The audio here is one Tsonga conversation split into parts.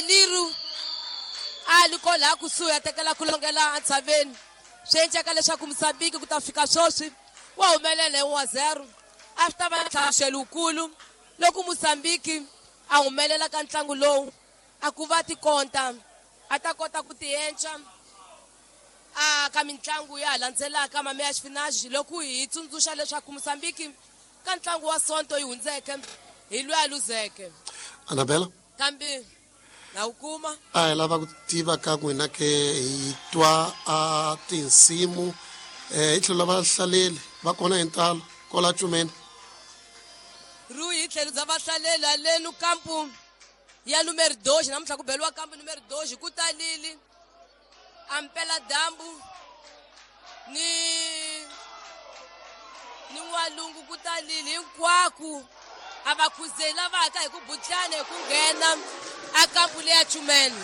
Liru a li ko laha kusuhi a tekela ku longela entshaveni. Swi endleka leswaku Mozambique ku ta fika sweswi wa humelela hi 1-0. A swi ta va ntlhantlho lowukulu loko Mozambique a humelela ka ntlangu lowu, a ku va tikonta a ta kota ku tienca a ka mitlangu ya landzelaka mame ya xifinaji. Loko hi tsundzuxa leswaku Mozambique ka ntlangu wa Sonto yi hundzeke hi lweyi a luzeke. Anabela. Kambe na wu kuma. A hi lava ku tiva ka n'wina ke hi twa a tinsimu hi tlhelo la vahlaleli va kona hi ntalo kola cumeni. Rui, hi tlhelo bya vahlaleli halenu kampu ya numero 2, namuntlha ku beliwa kampu numero 2, ku talili ampela dyambu ni n'walungu, ku talili hinkwaku. A va khuzeli lava haka hi ku butlana hi ku nghena a kampu leya Chumene,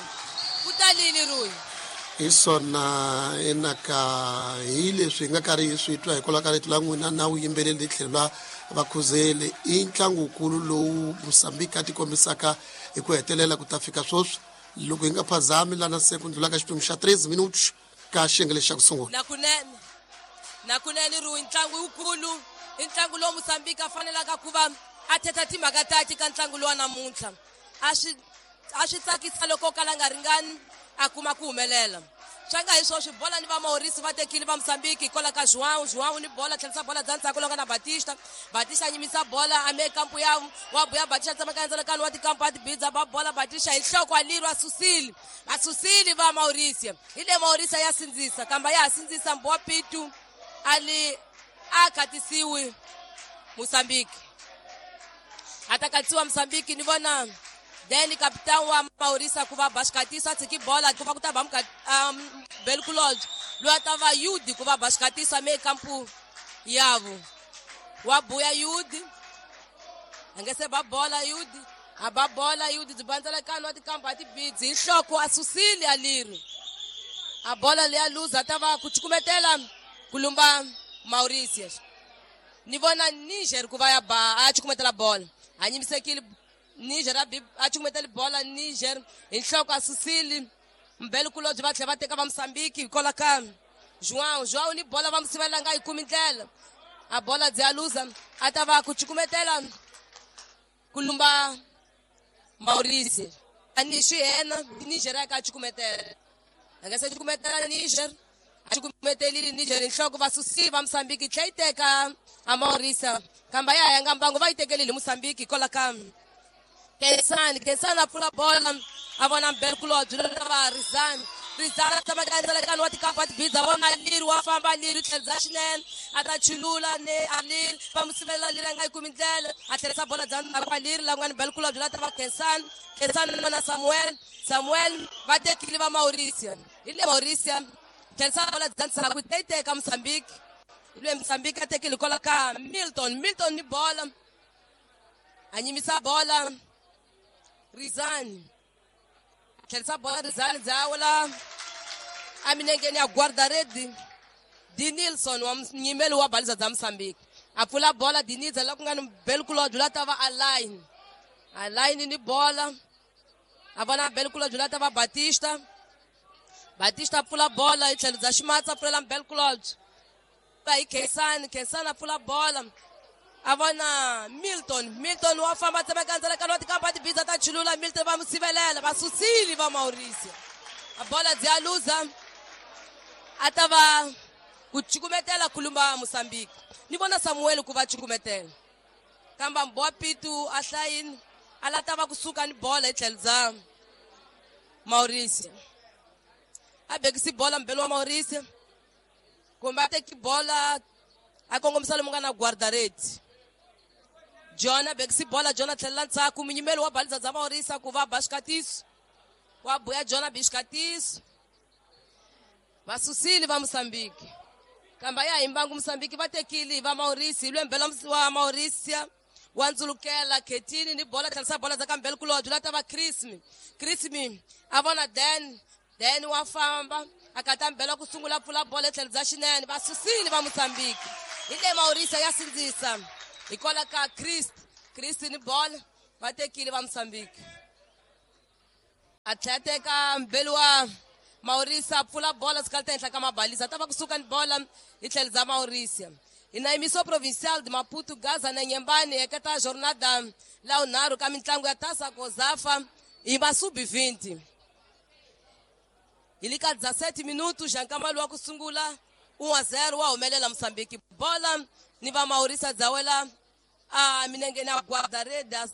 ku talili, Rui. Hi swona enaka hi leswi hi nga karhi hi swi twa hikwalaho ka rito la n'wina na vuyimbeleri tlhelo la vakhuzeli. I ntlangukulu lowu Mosambiki a tikombisaka hi ku hetelela ku ta fika sweswi, loko hi nga phazami lana se ku ndlula ka xiphemu xa 3 minutes ka xiyenge lexi xa ku sungula. Nakunene, nakunene, Rui, ntlangu wukulu i ntlangu lowu Mosambiki a fanelaka ku va a thetha timhaka tati ka ntlangu lowa namuntlha. A swi tsakisa loko o kala nga ringani a kuma ku humelela. Swa nga hi swoswi bola ni va Maurice va tekile va Mozambique hikwalaho ka João. João ni bola, tlherisa bola bya ndzhaku longa na Batista. Batista a nyimisa bola ame kampu ya wa buya. Batista tsemaka ndzalakano wa tikampu a tibidza ba bola. Batista hi nhloko, a lirwa, susile, va susile va Maurice. Hi le Maurice ya sindzisa, kamba ya ha sindzisa mbowa pitu ali a khatisiwi Mozambique, a ta katsiwa Mozambique. Ni vona then capitão wa Maurice ku va Bascatiso a tshiki bola ku va ku ta va Belkulodge loyi a ta va Yudi ku va Bascatiso ame kampu yavo. Wa buya Yudi, a nge se ba bola Yudi, a ba bola Yudi byi bandzelekano wa tikampu a tibidzi hi nhloko, a susile a leri a bola leya luza, ta va ku cukumetela ku lumba Mauritius. Ni vona Niger ku va ya ba a cukumetela bola, a nyimisekile Niger, a cukumetela bola Niger hi nhloko, a susile Mbelkulobye. Va tlhela va teka va Mosambiki hikwalaho ka João. João ni bola, va musivela, nga yi kumi ndlela, a bola byi ya luza, a ta va ku cukumetela ku lumba Maurice. A ni swi yena Niger ya ka cukumetela, a nga se cukumetela Niger, a cukumetelile Niger hi nhloko, va susile va Mosambiki, tlhe yi teka a Maurice, kamba ya yanga mbangu, va yi tekelile Mosambiki hikwalaho ka Kensani. Kensani a pfula bola, a vona Mbelkulobye va Rizani. Rizani a tshama ka wa tikampa tibidza, vona Liri, wa famba Liri, tlherisa xinene, a ta chulula ne a Liri, va mu sivelela, Liri a nga yi kumi ndlela, a tlherisa bola bya ndzhaku ka Liri la ku nga ni Mbelkulobye la ta va Kensani. Kensani na Samuel. Samuel, va tekile va Mauricia. Hi le Mauricia tlherisa bola bya ndzhaku, yi teka Mozambique. Hi le Mozambique a tekile hikwalaho ka Milton. Milton ni bola, a nyimisa bola Rizani, tlherisa bola Rizani dzawula emilengeni ya guarda-rede Dinilson wa munyimeli wa baliza bya Mozambique. A pfula bola Dinilson la ku nga ni Belkulodge la ta va Aline. Aline ni bola, a vona Belkulodge la ta va Batista. Batista a pfula bola hi tlhelo bya ximatsi, a pfulela Belkulodge va hi Khensani. Khensani a pfula bola, a vona Milton. Milton wa famba, tsemeka ndzalakano wa tikampa tibiza, ta chulula Milton, va mu sivelela, va susile va Mauricio, a bola byi ya luza, a ta va ku cukumetela khulumba Mozambique. Ni vona Samuel ku va cukumetela, kamba mbowa pitu a hlayini, a la ta va kusuka ni bola hi tlhelo bya Mauricio, a bekisi bola mbelo wa Mauricio, kumbe a teki bola a kongomisa lomu nga na guarda-rede John, a bekisi bola John, a tlhelela ndzhaku munyimeli wa baliza bya Maurisa ku va ba xikatiso. Wa buya John, a bi xikatiso, va susile va Mozambique, kambe ya hi mbangu Mozambique va tekile va Maurice. Hi lwembela wa Mauricia wa ndzulukela Khetini ni bola, tlherisa bola za kambele kulobye la ta va Chrismi. Chrismi a vona Dan. Dan wa famba, a kata mbela ku sungula, pfula bola etlhelo bya xinene, va susile va Mozambique. Hi le Maurice ya sindzisa hikwalaho ka Christ. Christ ni bola, va tekile va Mozambique. A tlhela teka mbeli wa Maurisia, pfula bola sikali henhla ka mabalisa, ta va kusuka ni bola hi tlhelo bya Maurisia. Hi na emissão provincial de Maputo, Gaza na Inhambane, eketa jornada la unharhu ka mitlangu ya Taça COSAFA hi va sub-20. Hi le ka 17 minutos xa nkambalo wa ku sungula, 1-0 wa humelela Mozambique. Bola ni va Maurisia dzawela a minengeni ya guarda-redes,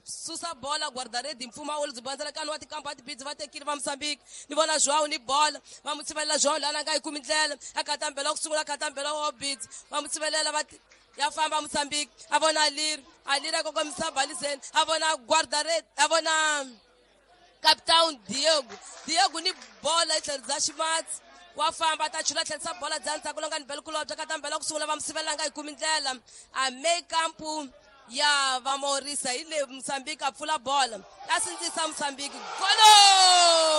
susa bola guarda-rede mpfumawulo byi bandzelekani wa tikampa tibidzi va tekile va Mozambique. Ni vona Joao ni bola, va mu tshivelela. Joao lana nga yi kumi ndlela, a katambela wa ku sungula, katambela wa bidzi, va mu tshivelela, va ya famba Mozambique. A vona Alir, Alir a kongomisa baliseni, a vona guarda-rede, a vona capitão Diego. Diego ni bola hi tlhelo bya ximatsi, wa famba, ta chula, tlherisa bola bya ndzhaku longa ni bela kulobya, katambela ku sungula, va mu sivelela, nga yi kumi ndlela. A meio campo ya va Maurisia, hi le Mozambique, a pfula bola, a sindzisa Mozambique. Golo!